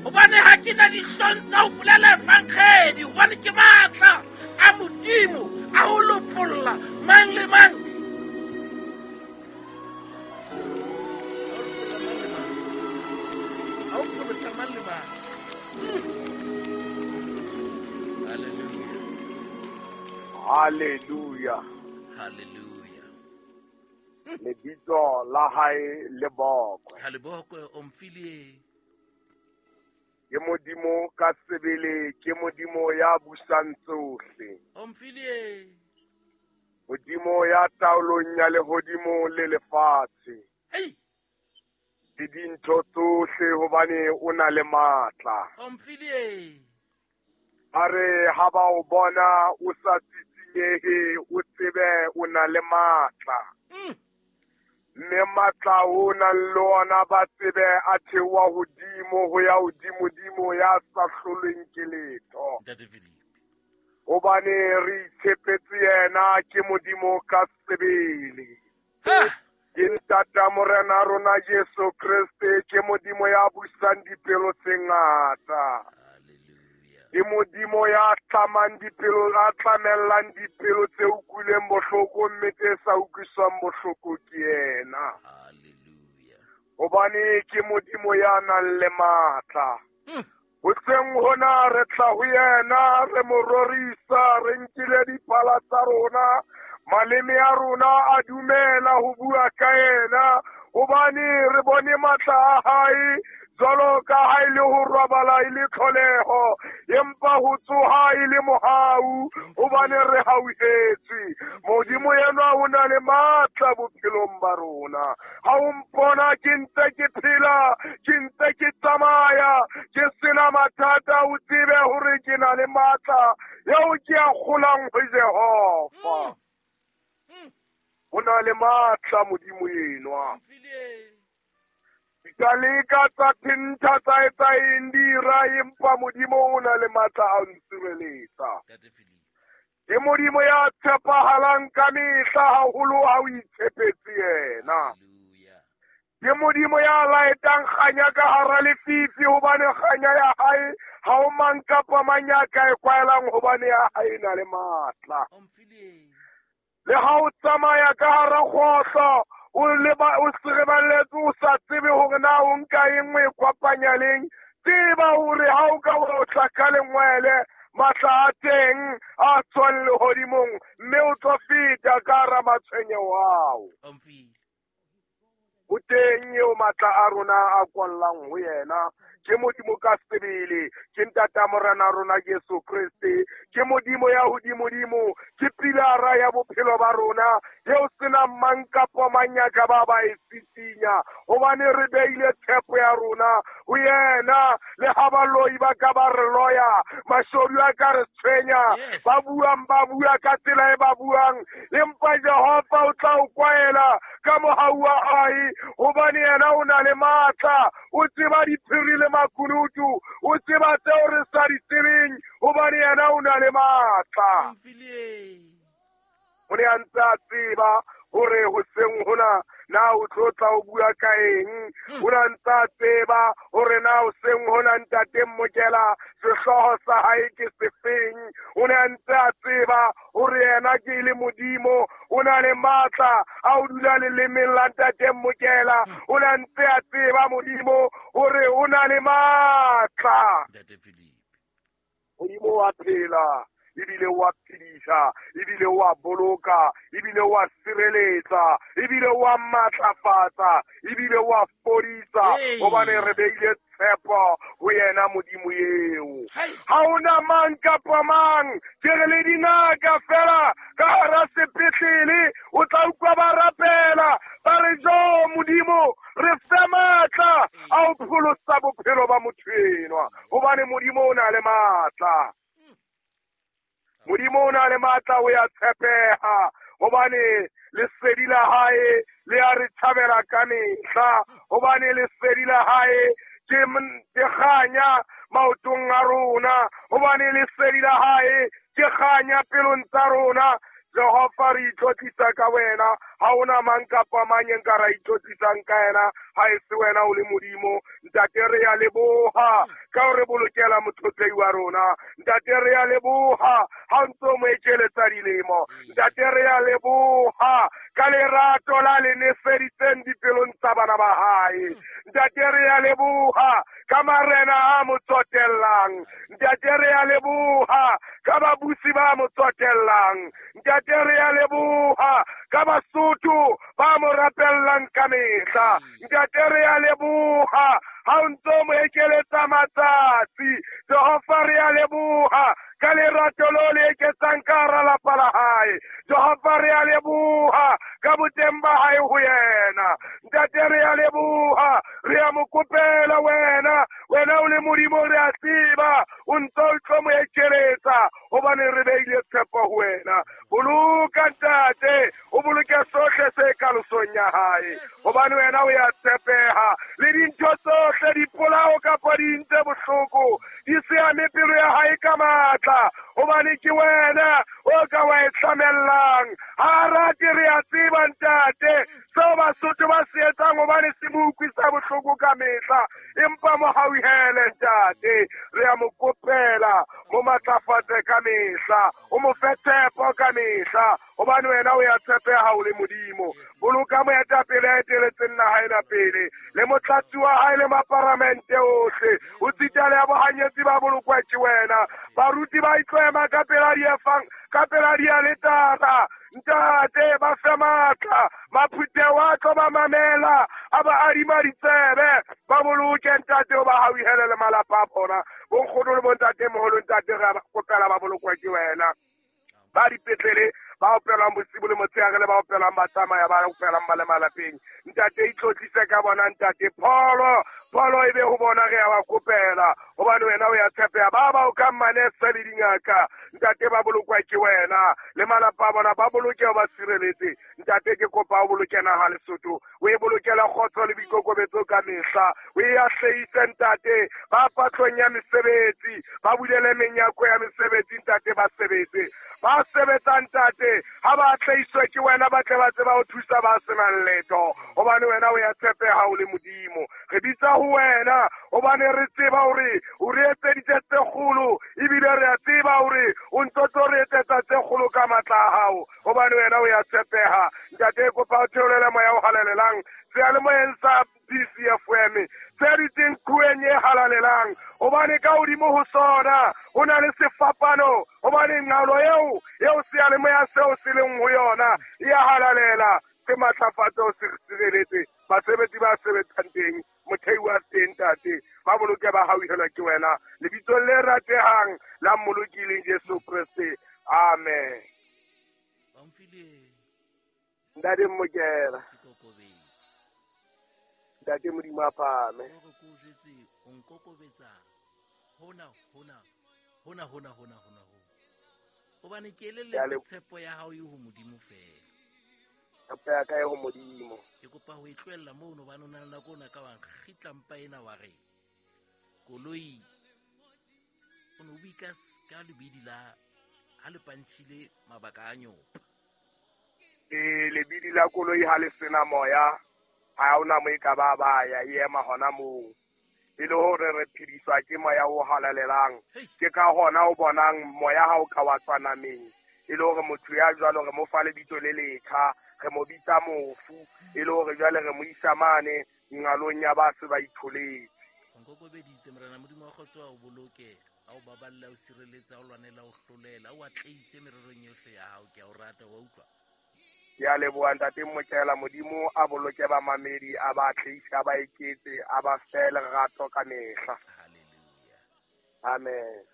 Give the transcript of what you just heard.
Hobane ha ke na dihlong tsa ho bolela evangedi, hobane ke matla a Modimo a ho lopolla mang le mang. A ho pholosa mang le mang. Hallelujah. Hallelujah. Hallelujah. Lebitso la hae le bokwe. Ha le bokwe o mfilie. Ke Modimo ka sebele, ke Modimo ya busang tsohle. O mfilie. Modimo ya taolong ya lehodimo le lefatshe. Hey. Le dintho tsohle hobane o na le matla. O mfilie. A re ha ba o bona o sa tsitsinyehe, o tsebe o na le matla. Mme matla o nang le ona ba tsebe a theoha hodimo ho ya hodimodimo ya sa hlolweng ke letho. Ntate Philip. Hobane re itshepetse yena, ke Modimo ka sebele. Ha! Ke ntata Morena rona Jesu Kreste, ke Modimo ya busang dipelo tse ngata. Hallelujah. Ke Modimo ya tlamang dipelo, a tlamellang dipelo tse utlwileng bohloko mme tse sa utlwiswang bohloko ke yena. Hallelujah. Hobane ke Modimo ya nang le matla. Hoseng hona re tla ho yena, re mo rorisa, re nkile dipala tsa rona, maleme a rona a dumela ho bua ka yena, hobane re bone matla a hae jwalo ka ha e le ho robala e le tlholeho, empa ho tsoha e le mohau, hobane re hauhetswe. Modimo enwa o na le matla bophelong ba rona. Ha o mpona ke ntse ke phela, ke ntse ke tsamaya, ke sena mathata, o tsebe hore ke na le matla eo ke a kgolang ho Jehova. O na le matla Modimo enwa. Ka leka tsa thentha tsa etsa eng dira, empa Modimo o na le matla a ho ntshireletsa. Ke Modimo ya tshepahalang ka mehla, haholo ha o itshepetse yena. Ke Modimo ya laetang kganya ka hara lefifi, hobane kganya ya hae ha o mang kapa mang ya ka e kwaelang, hobane ya hae e na le matla. Le ha o tsamaya ka hara kgohlo, o leba o sereballetse, o sa tsebe hore na o nka eng o e kopanya leng, tseba hore ha o ka wa tla ka lengwele, matla a teng a tswang lehodimong, mme o tlo feta ka hara matshwenyeho ao. O teng eo matla a rona a kwallang ho yena. Ke Modimo ka sebele, ke ntata Morena rona Jesu Kreste, ke Modimo ya hodimodimo, ke pilara ya bophelo ba rona, eo senang mang kapa mang ya ka ba ba e sisinya, hobane re beile tshepo ya rona ho yena. Le ha baloi ba ka ba re loya, mashodu a ka re tshwenya, ba buang ba bua ka tsela e ba buang, empa Jehova o tla o kwaela ka mohau wa hae, hobane yena o na le matla, o tseba diphiri le makunutu, o tseba tseo re sa di tsebeng, hobane yena o na le matla. O ne a ntse a tseba hore hoseng hona na o tlo tla o bua ka eng, o ne a ntse a tseba hore na hoseng hona ntate Mokela sehlooho sa hae ke sefeng, o ne a ntse a tseba hore yena ke le Modimo, o na le matla a ho dula lelemeng la ntate Mokela, o ne a ntse a tseba Modimo hore o na le matla. Modimo wa phela, ebile wa phedisa, ebile wa boloka, ebile wa sireletsa, ebile wa matlafatsa, ebile wa fodisa, hobane re beile tshepo ho yena Modimo eo. Ha hona mang kapa mang, ke re le dingaka fela ka hara sepetlele, o tla utlwa ba rapela, ba re jo Modimo re fe matla a ho pholosa bophelo ba motho enwa, hobane Modimo o na le matla. Modimo o na le matla, o ya tshepeha, hobane lesedi la hae le a re thabela ka mehla, hobane lesedi la hae ke kganya maotong a rona, hobane lesedi la hae ke kganya pelong tsa rona. Jehova re itlotlisa ka wena, ha hona mang kapa mang e nka ra itlotlisang ka yena, ha e se wena o le Modimo. Ntate re ya leboha, ka ho re bolokela motlotlei wa rona. Ntate re a leboha ha o ntso mo ekeletsa dilemo. Ntate re a leboha ka lerato la le neseditseng dipelong tsa bana ba hae. Ntate re a leboha ka marena a mo tsotellang. Ntate re a leboha ka babusi ba mo tsotellang. Ntate re a leboha ka Basotho ba mo rapellang ka mehla. Ntate re a leboha ha o ntso mo ekeletsa matsatsi. Jehova re a leboha ka lerato lo le eketsang ka hara lapa la hae. Jehova re a leboha ka boteng ba hae ho yena. Ntate re a leboha, re a mo kopela wena, wena o le Modimo re a tseba o ntso o tlo mo ekeletsa hobane re beile tshepo ho wena. Boloka ntate, o boloke sohle se kalosong ya hae, hobane wena o ya tshepeha. Le dintho tsohle dipolao kapa dintse bohloko di se ame pelo ya hae ka matla, hobane ke wena o ka wa e tlamellang. Ha rate re a tseba ntate seo Basotho ba se etsang hobane se mo utlwisa bohloko ka mehla, empa mo hauhele ntate, re a mo kopela mo matlafatse ka mehla, o mo fe tshepo ka mehla, hobane wena o ya tshepeha o le Modimo. Boloka moetapele a eteletseng naha ena pele, le motlatsi wa hae le maparamente ohle, o tsitale ya bohanyetsi ba bolokwa ke wena. Baruti ba itlo ema ka pela diefang, ka pela dialetara, ntate ba fe matla, maphutheo a tlo ba mamela, a ba adima ditsebe, ba boloke ntate o ba hauhele le malapa a bona. Bonkgono le bontate moholo ntate re a kopela ba bolokwa ke wena. Ba dipetlele ba opelang bosibu le motshehare le ba opelang ba tsamaya ba opelang ba le malapeng. Ntate itlotlise ka bona ntate, pholo pholo e be ho bona re a ba kopela, hobane wena o ya tshepeha. Ba ba o ka manese le dingaka ntate ba bolokwa ke wena, le malapa a bona ba boloke o ba sireletse. Ntate ke kopa o boloke naha Lesotho, o e bolokela kgotso le boikokobetso ka mehla, o e ahlehise ntate. Ba patlong ya mesebetsi ba bulele menyako ya mesebetsi ntate, ba sebetse, ba sebetsa ntate, ha ba atlehiswe ke wena, ba tle ba tseba ho thusa ba senang letho, hobane wena o ya tshepeha o le Modimo. Re bitsa ho wena hobane re tseba hore o re etseditse tse kgolo, ebile re a tseba hore o ntso tlo re etsetsa tse kgolo ka matla a hao, hobane wena o ya tshepeha. Ntate kopa o theolele moya o halalelang seyalemoyeng sa DCFM se dutseng qhoweng e halalelang, hobane ka hodimo ho sona ho na le sefapano, hobane nqalo eo seyalemoya seo se leng ho yona e ya halalela. Se matlafatse o se sireletse basebetsi ba sebetsang teng, mothei wa teng ntate, ba boloke ba hauhelwa ke wena, lebitsong le ratehang la Mmoloki Jesu Kreste, amen. Ntate Mmokela, ntate Modimo a phahame. Hore ke o jwetse o nkokobetsa hona hona hona hona hona hona hona, hobane ke elelletswe tshepo ya hao e ho Modimo fela. Tshepo ya ka e ho Modimo. Ke kopa ho e tlohella mono, hobane o na le nako o na ka wa nkgitla mpa ena wa re koloi o ne o bue ka lebidi la ha le pantšhile mabaka a nyopa. Lebidi la koloi ha le sena moya, ha hona mo e ka ba ba ya e ema hona moo. E le hore re phediswa ke moya o halalelang. Ke ka hona o bonang moya ha o ka wa tswa nameng, e le hore motho ya jwalo re mo fa lebitso le letjha, re mo bitsa mofu, e le hore jwale re mo isa mane nqalong ya ba se ba itholetse. O nkokobeditse Morena Modimo wa kgotso, a o boloke, a o baballe, a o sireletse, a o lwanele, a o hlolele, a o atlehise mererong yohle ya hao. Ke a o rata, wa utlwa? Ke a leboha ntate Mmokela. Modimo a boloke bamamedi, a ba atlehise, a ba eketse, a ba fe lerato ka mehla. Hallelujah. Amen.